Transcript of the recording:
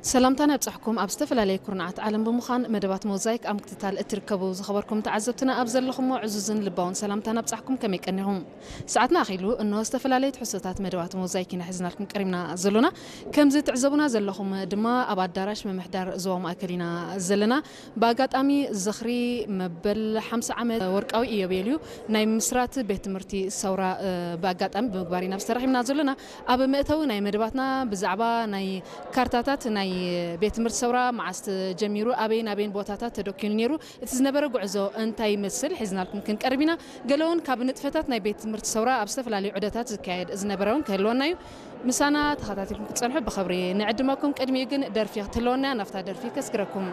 ሰላምታና ይብጻሕኩም። ኣብ ዝተፈላለየ ኩርናዓት ዓለም ብምዃን መደባት ሞዛይክ ኣብ ምክትታል እትርከቡ ዝኸበርኩም ተዓዘብትና፣ ኣብ ዘለኹሞ ዕዙዝን ልባውን ሰላምታና ይብጻሕኩም። ከመይ ቀኒኹም? ሰዓትና ኣኺሉ፣ እንሆ ዝተፈላለየ ትሕዝቶታት መደባት ሞዛይክ ኢና ሒዝናልኩም ቀሪብና ዘሎና። ከምዚ ትዕዘቡና ዘለኹም ድማ ኣብ ኣዳራሽ ምምሕዳር ዞባ ማእከል ኢና ዘለና። ብኣጋጣሚ ዝኽሪ መበል ሓምሳ ዓመት ወርቃዊ ኢዮቤልዩ ናይ ምስራት ቤት ትምህርቲ ሰውራ፣ እ፣ ብኣጋጣሚ ብምግባር ኢና ተረኺብና ዘሎና። ኣብ መእተዊ ናይ መደባትና ብዛዕባ ናይ ካርታታት ናይ ቤት ትምህርቲ ሰውራ፣ መዓስ ተጀሚሩ፣ ኣበይን ኣበይን ቦታታት ተደኪኑ ነይሩ፣ እቲ ዝነበረ ጉዕዞ እንታይ ይመስል ሒዝናልኩም ክንቀርብ ኢና። ገለ እውን ካብ ንጥፈታት ናይ ቤት ትምህርቲ ሰውራ ኣብ ዝተፈላለዩ ዑደታት ዝካየድ ዝነበረ እውን ክህልወና እዩ። ምሳና ተኸታቲልኩም ክትጸንሑ ብኽብሪ ንዕድመኩም። ቅድሚኡ ግን ደርፊ ክትህልወና እያ። ናብታ ደርፊ ከስግረኩም።